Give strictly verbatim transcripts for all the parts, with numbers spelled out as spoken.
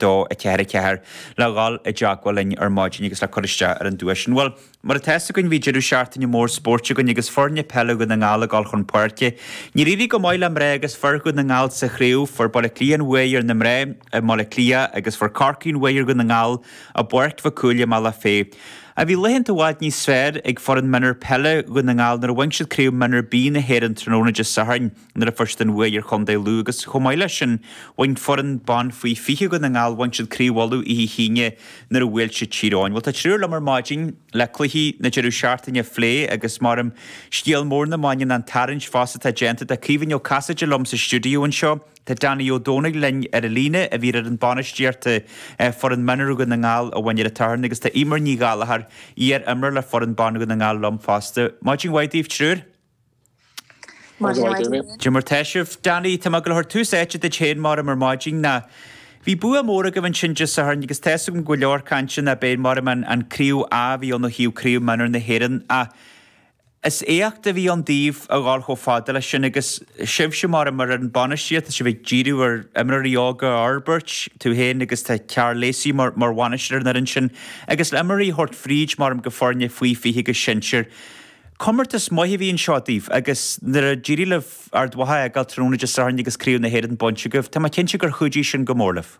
dó a ceathair a ceathair le dhul i dteagmháil linn ar maidin agus le cur isteach ar an duais sin. Bhuel, mar atá fhios againn bhí deireadh seachtaine mór spóirt againn agus foirne peile Dhún na nGall ag dul chun páirce. Níor éirigh go maith le mná agus fir Dhún na nGall sa chraobh, fuair Baile Átha Cliath an bhuaidh ar na mná i mBaile Átha Cliath agus fuair Corcaigh an bhuaidh ar Dhún na nGall i bPáirc Mhic Cumhaill i mBealach Féich. Ach bhí laethanta i bhfad níos fearr ag foireann mionúr peile Dhún na nGall nuair a bhain siad craobh mionúr B na hÉireann tráthnóna Dé Sathairn nuair a fuair siad an bhuaidh ar Chontae Lú agus chomh maith leis sin bhain foireann ban faoi fiche Dhún na nGall bhain siad craobh Uladh oíche hAoine nuair a bhuail siad Tír Eoghain. Bhuel tá triúr liom ar maidin le cluichí na deireadh seachtaine a phlé agus mar scéal mór na maidine an tarraingt fosta atá déanta tá Caoimhín Ó Casaide liom sa stiúideo anseo. Tá Danny Ó Dónaill linn ar an líne a bhí ar an bainistíochta foireann mionúr Dhún na nGall a bhain ar an tSatharn agus tá Eimear Ní Ghallchóir iar-imreoir le foireann ban Dhún na nGall liom fosta. Maidin mhaith daoibh triúr. Cad é mar tá sibh. Danny, tá mé ag gabháil a thabhairt tús áite duit féin mar ar maidin ná Bhí bua mór agaibh ansin Dé Sathairn agus tá agam go leor cainte ná b'é mar an an craobh A bhí ann ó thaobh craobh mionúr na hÉireann ach Is éacht a bhí ann daoibh a dhul chomh fada leis sin agus sibhse mar mar an bainistíocht tá sibh ag díriú ar imreoirí óga a fhorbairt tú féin agus tá Karl Lacey mar mar bhainisteoir an fhoireann sin agus le imreoirí a thabhairt fríd mar go foirne faoi fiche agus sinsir. Comórtas maith a bhí anseo daoibh agus nuair a d'éirigh libh Ard Mhacha a fhágáil tráthnóna Dé Sathairn agus Craobh na hÉireann bainte agaibh, Tá mé cinnte gur chuidigh sin go mór libh.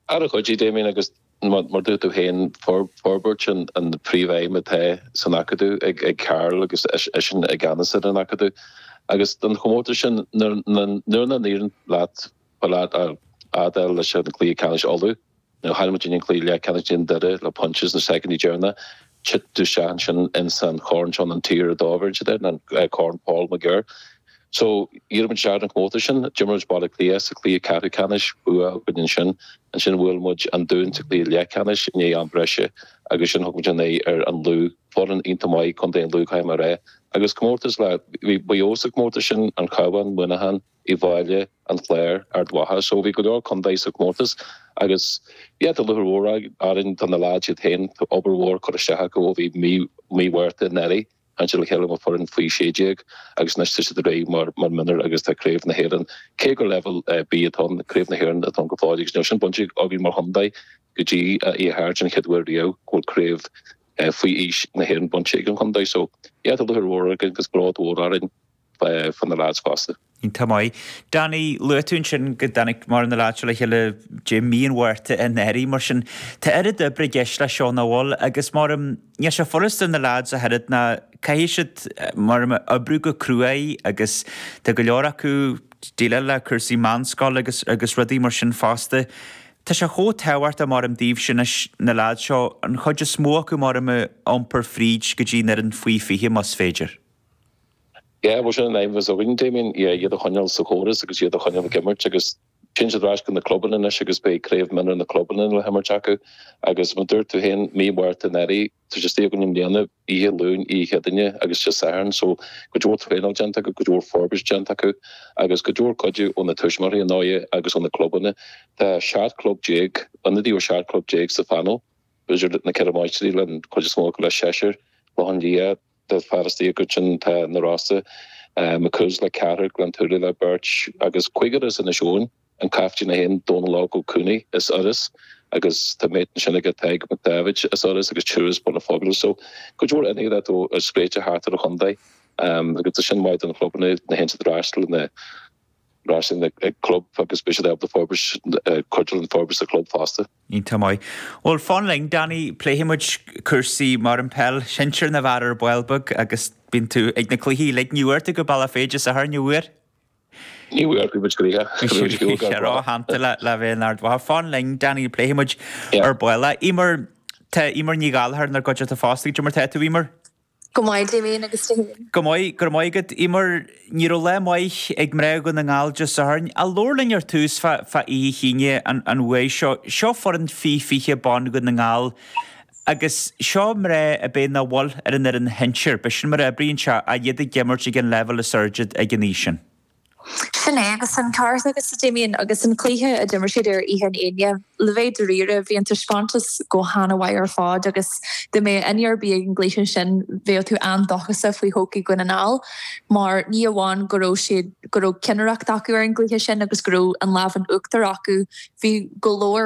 Ar chuidigh Damien agus mar dúirt tú féin forbairt an an príomhaidhm atá san acadamh ag ag Karl agus eisean i gceannas ar an acadamh. Agus don chomórtas sin nuair nach n-éiríonn leat leat leis an cluiche ceannais Uladh, nó chaill muid an cluiche leathcheannais in Doire le pointe na soicind deireanacha, thit tú isteach ansin ins an chorn seo an Tier a dó an Corn Paul McGirr. So d'éirigh muid an comórtas sin d'imir muid Baile Átha Cliath sa cluiche ceathrú ceannais bua againn ansin ansin bhuail muid an Dún sa cluiche leathcheannais i ndiaidh am breise agus sin thug muid an aghaidh ar an Lú foireann iontach maith Contae an Lú caithfidh mé a rá agus comórtas le bhí Maigh Eo sa comórtas sin an Cabhán Muineachán Uíbh Fhailí an Clár Ard Mhacha so bhí go leor contae sa comórtas agus yeah tá lúcháir mhór orainn tá na lads iad féin tá obair mhór curtha isteach acu ó bhí mí mí Mhárta anuraidh an le chéile mar foireann faoi sé déag agus anois tá siad réidh mar mar mionúr agus tá craobh na hÉireann cé gur level B atá craobh na hÉireann atá go fóill agus níl sin bainte againn mar chontae go dtí í thart an chéad uair riamh go bhfuil craobh faoi aois na hÉireann bainte ag an chontae so yeah tá lúcháir mhór agus bród mhór orainn fá na lads fosta. Tá maith. Danny luaigh tú ansin go dtáinig mar na lads le chéile dé mí an Mhárta anuraidh mar sin Tá oiread oibre i gceist leis seo nach bhfuil agus mar níl sé furasta na lads a oiread ná caithfidh siad mar oibriú go cruaidh agus tá go leor acu déileáil le cúrsaí meánscoile agus agus rudaí mar sin fosta. Tá sé chomh tábhachtach mar am daoibh sin na lads seo an chuid is mó acu mar am iompar fríd go dtí ar an faoi fiche más féidir. Yeah, well sin an aidhm againn Damien iad a choinneáil sa chóras agus iad a choinneáil ag imirt agus sin siad ar ais go na clubanna anois agus beidh craobh mionúr na clubanna le himirt acu agus mar dúirt tú féin mí Mhárta anuraidh tá sé istigh againn i mbliana oíche Luain oíche Chéadaoine agus Dé Sathairn so go leor traenáil déanta acu go leor forbairt déanta acu agus go leor cuidiú ó na tuismitheoirí an áine agus ó na clubanna Tá seacht club déag ionadaí ó seacht club déag sa phanel B'fhéidir na ceithre máistrí le chuid is mó le seisear Loch Lia de fearstaí go sin tá na Rossa McCoos le ceathrar Gleann tSúilí le beirt agus cúigear as Inis Eoghain an captaen é féin Dónal Óg Ó Cúnaí as Iorras agus tá mé sin aige Tadhg McDavid as Iorras agus triúr Bun Phobail so go leor ionadaithe ó spréite thart ar an chontae agus tá sin maith don chlubanna na hionsaithe freastal na sin ag club agus beidh siad ábalta forbairt cuidiú an forbairt sa club fosta. Iontach maith. Bhuel fan linn Danny pléifidh muid cúrsaí mar an peil sinsir na bhfear ar ball beag agus bíonn tú ag na cluichí uilig ní bhfuair tú go Bealach Féich Dé Sathairn an bhfuair? Ní bhfuair bhí muid gnoitheach. Róshannta le le bheith in Ard Mhacha. Fan linn Danny pléifidh muid ar ball. Eimear tá Eimear Ní Ghallchóir inár gcuideachta fosta cad é mar tá tú Eimear? Go maith Damien agus tú féin. Go maith go raibh maith agat Eimear ní raibh lá maith ag mná Dhún na nGall Dé Sathairn. A labhair linn ar tús fá fá oíche Aoine an an uaidh seo. Seo foireann faoi fiche ban Dhún na nGall agus seo mná a bheidh ina bhfuil ar an fhoireann shinsir. B'shin mar a oibríonn sé a iad ag imirt ag an leibhéal is airde ag an aois sin. Sin é agus an ceart agat a Damien agus an cluiche a d'imir siad ar oíche an Aoine. Le bheith dáiríre bhí an taispeántas go han-mhaith ar fad agus dá mbeadh duine ar bith ag an gcluiche sin bheadh tú an-dóchasach faoi thodhchaí Dhún na nGall mar ní amháin go raibh siad go raibh cinnireacht acu ar an gcluiche sin agus go raibh an lámh in uachtar acu bhí go leor